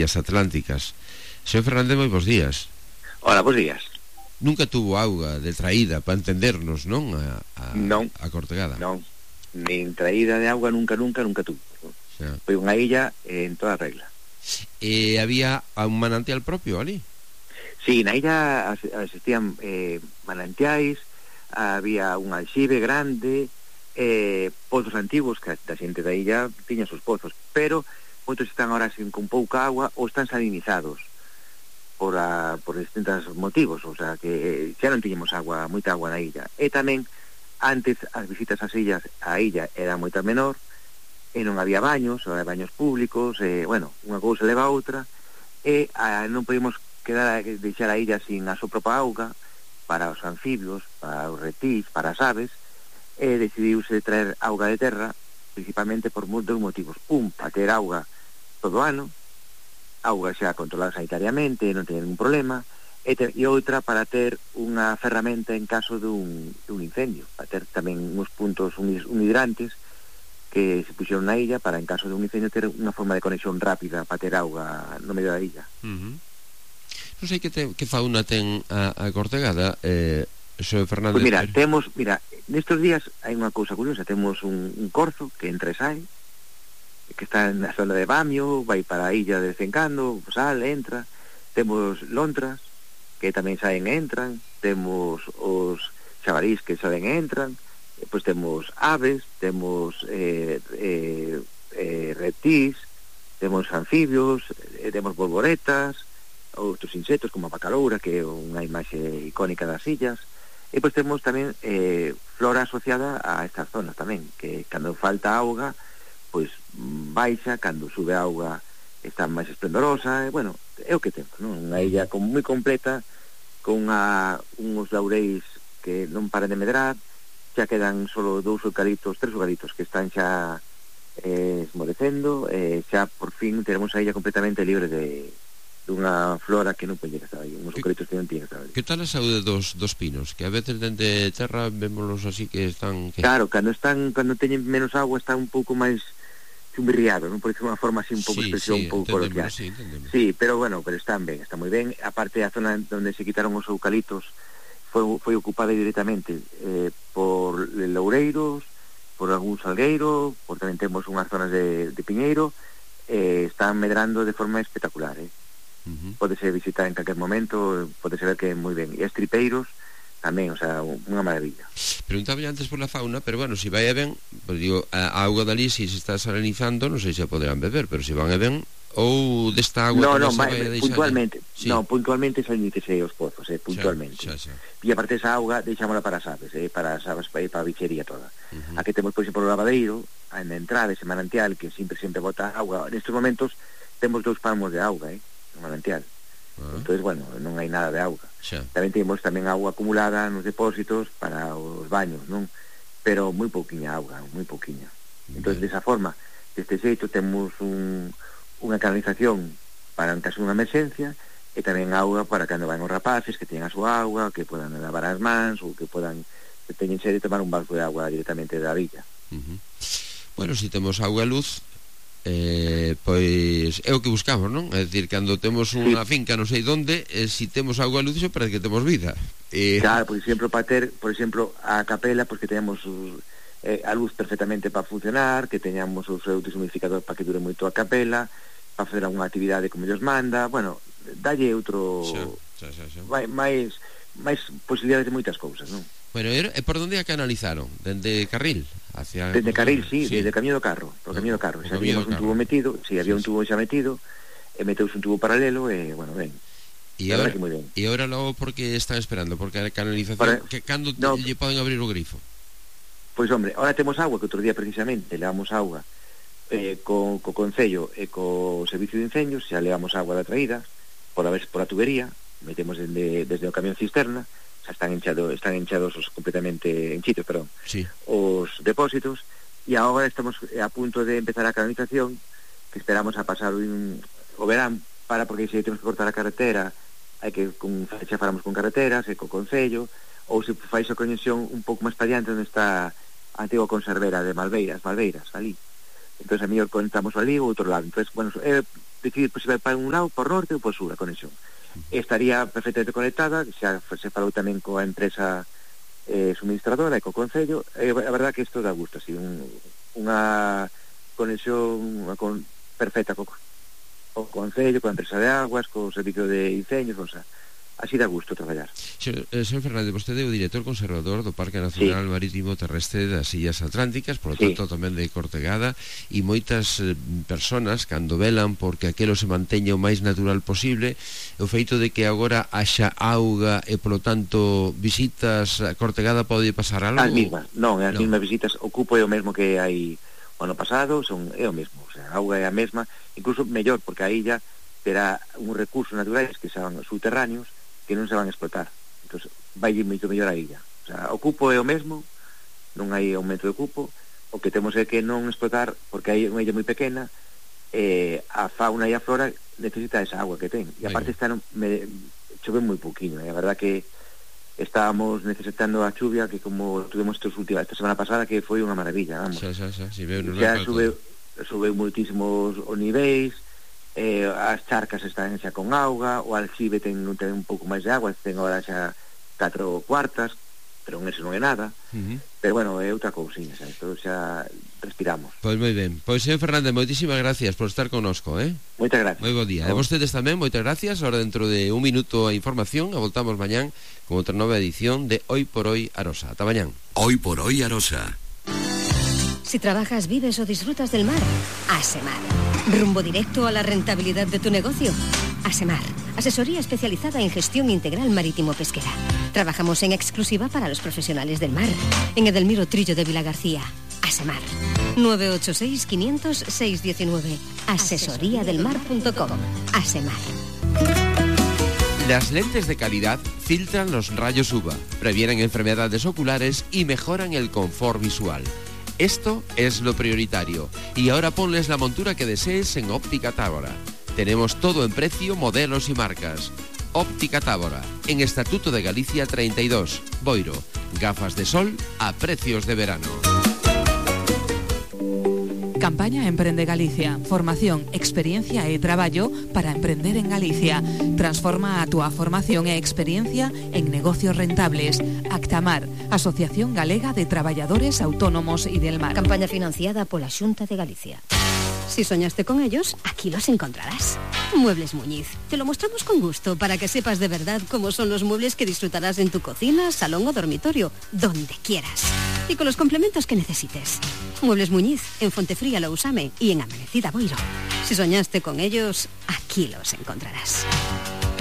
as atlánticas. Señor Fernández, moi bons días. Hola, bons días. Nunca tuvo auga de traída para entendernos, non? Non. A Cortegada. Non, nin traída de auga nunca tuvo. Xa. Foi unha illa en toda regla. E había un manantial propio ali? Sí, na illa existían manantiais, había un alxibe grande, pozos antigos que a xente da illa tiña os pozos, pero moitos están ahora con pouca agua ou están salinizados por distintos motivos, o sea que xa non tiñemos agua, moita agua na illa. E tamén antes as visitas ás illas, a illa era moita menor e non había baños, ou había baños públicos, bueno, unha cousa leva a outra, e non podíamos deixar a illa sin a súa propia auga para os anfibios, para os reptiles, para as aves, e decidiuse traer auga de terra principalmente por moitos motivos. Un, para ter auga todo o ano, auga xa controlada sanitariamente, non ten ningún problema, e outra para ter unha ferramenta en caso dun incendio, para ter tamén uns puntos unhidrantes que se puxeron na illa para en caso de un incendio ter unha forma de conexión rápida para ter auga no medio da illa. Non sei que fauna ten a Cortegada, Xosé Fernández. Pois mira, nestes días hai unha cousa curiosa, temos un corzo que entra e sai, que está na zona de Bamio, vai para a illa de vez en cando, sale, entra. Temos lontras que tamén saen e entran, temos os xabarís que saen e entran, pois temos aves, temos reptiles, temos anfibios, temos borboretas, outros insectos como a bacaloura, que é unha imaxe icónica das illas, e pois temos tamén flora asociada a estas zonas tamén, que cando falta auga pois baixa, cando sube a auga está máis esplendorosa, e bueno, é o que temos, non? Unha illa moi completa, con uns laureis que non paran de medrar, xa quedan solo 3 eucaliptos que están xa esmorecendo, xa por fin teremos a illa completamente libre dunha flora que non pode estar aí, uns eucaliptos que non tiñen que estar aí. Que tal a saúde dos pinos? Que a veces dende terra vémolos así que están... Claro, cando teñen menos agua está un pouco máis chumbirriado, non? Por unha forma así un pouco expresión un pouco coloquial. Sí, pero bueno, pero están moi ben. Aparte, a zona onde se quitaron os eucaliptos foi ocupada directamente por loureiros, por algún salgueiro, por tamén temos unhas zonas de piñeiro, están medrando de forma espectacular, Pódese visitar en calquer momento, pódese ver que é moi ben. E estripeiros tamén, o sea, unha maravilla. Preguntaba antes por la fauna, pero bueno, si vai e ben, pues digo, a auga dali, si se está salinizando, non sei se poderán beber, pero si van e ben, ou desta agua non, se vai a deixar... puntualmente, sí. Non, puntualmente salinítese os pozos, puntualmente. Xa. E aparte esa auga deixámola para as aves, para as aves, para a bichería toda. Aquí temos, por exemplo, o lavadeiro, na entrada, ese manantial, que sempre bota auga. Nestes momentos temos 2 palmos de auga, no manantial. Entonces, bueno, non hai nada de auga. Tamén temos agua acumulada nos depósitos para os baños, non? Pero moi pouquiña auga, moi pouquiña. Entonces, desa forma, deste xeito, temos unha canalización para en caso dunha emerxencia, e tamén auga para cando van os rapaces, que teñan a súa auga, que podan lavar as mans, ou que teñen sede de tomar un balso de auga directamente da villa. Bueno, si temos auga e luz, pois é o que buscamos, non? É dicir, cando temos unha finca non sei onde, si temos auga e luz, parece que temos vida. Claro, por exemplo, para ter, a capela, pois que teñamos a luz perfectamente para funcionar, que teñamos o seu deshumidificador para que dure moito a capela, para facer algunha actividade como Dios manda, bueno, dalle outro... máis posibilidades de moitas cousas, non? Bueno, e por onde a canalizaron? Dende Carril? Dende Carril, sí, desde o Camiño do Carro. Por o Camiño do Carro. Xa había un tubo metido, había un tubo xa metido, e meteuse un tubo paralelo, e, bueno, ben. E agora logo porque están esperando? Porque a canalización, que cando lle poden abrir o grifo? Pois, hombre, ahora temos agua, que outro día precisamente levamos agua co Concello e co Servicio de Incendios, xa levamos agua da traída, por a tubería, metemos desde o camión cisterna, xa están enchados completamente enchidos, os depósitos, e agora estamos a punto de empezar a canalización, que esperamos a pasar o verán, porque se temos que cortar a carretera, hai que xa faramos con carreteras e co Concello, ou se fai a conexión un pouco máis para diante onde está a antiga conservera de Malveiras ali. Entón a mellor conectamos ali ou outro lado. Entón, bueno, decidir se vai para un lado, por norte ou por sur a conexión. Estaría perfectamente conectada, xa se falou tamén coa empresa suministradora e co Concello. A verdad que isto dá gusto, así, unha conexión perfecta co Concello, coa empresa de aguas, co servicio de incendios, o sea, así dá gusto traballar. Señor Fernández, vostede é o director conservador do Parque Nacional Marítimo Terrestre das Illas Atlánticas, por lo tanto tamén de Cortegada, e moitas personas cando velan porque aquelo se manteña o máis natural posible, o feito de que agora haxa auga e polo tanto visitas a Cortegada pode pasar algo? As mismas visitas, o cupo é o mesmo que hai o ano pasado, é o mesmo, o sea, a auga é a mesma, incluso mellor, porque a illa terá uns recursos naturais que son subterráneos que non se van a explotar, entón vai moito mellor a illa, o sea, o cupo é o mesmo, non hai aumento de cupo, o que temos é que non explotar, porque hai unha illa moi pequena, a fauna e a flora necesita esa agua que ten, e aparte chove moi pouquinho, a verdad que estábamos necesitando a chuvia que como tuvemos esta semana pasada, que foi unha maravilla, vamos. Xa subeu moitísimos os niveis, as charcas están xa con auga, o alxibe ten un pouco máis de agua, ten agora xa 4 cuartas, pero eso non é nada. Pero bueno, é outra cousinha, xa, isto xa respiramos. Pois moi ben. Pois, señor Fernández, moitísimas gracias por estar connosco, Moitas gracias. Moi bo día. E vostedes tamén, moitas gracias. Ahora dentro de un minuto a información, e voltamos mañán con outra nova edición de Hoy por Hoy Arosa. Ata mañán. Hoy por Hoy Arosa. Si trabajas, vives o disfrutas del mar, Asemar. Rumbo directo a la rentabilidad de tu negocio. Asemar, asesoría especializada en gestión integral marítimo-pesquera. Trabajamos en exclusiva para los profesionales del mar. En Edelmiro Trillo de Vilagarcía. Asemar. 986-500-619. Asesoriadelmar.com. Asemar. Las lentes de calidad filtran los rayos UVA, previenen enfermedades oculares y mejoran el confort visual. Esto es lo prioritario. Y ahora ponles la montura que desees en Óptica Tábora. Tenemos todo en precio, modelos y marcas. Óptica Tábora, en Estatuto de Galicia 32, Boiro. Gafas de sol a precios de verano. Campaña Emprende Galicia. Formación, experiencia e traballo para emprender en Galicia. Transforma a túa formación e experiencia en negocios rentables. Actamar, Asociación Galega de Traballadores Autónomos y del Mar. Campaña financiada pola Xunta de Galicia. Si soñaste con ellos, aquí los encontrarás. Muebles Muñiz. Te lo mostramos con gusto para que sepas de verdad cómo son los muebles que disfrutarás en tu cocina, salón o dormitorio, donde quieras. Y con los complementos que necesites. Muebles Muñiz, en Fontefría Lousame y en Amanecida Boiro. Si soñaste con ellos, aquí los encontrarás.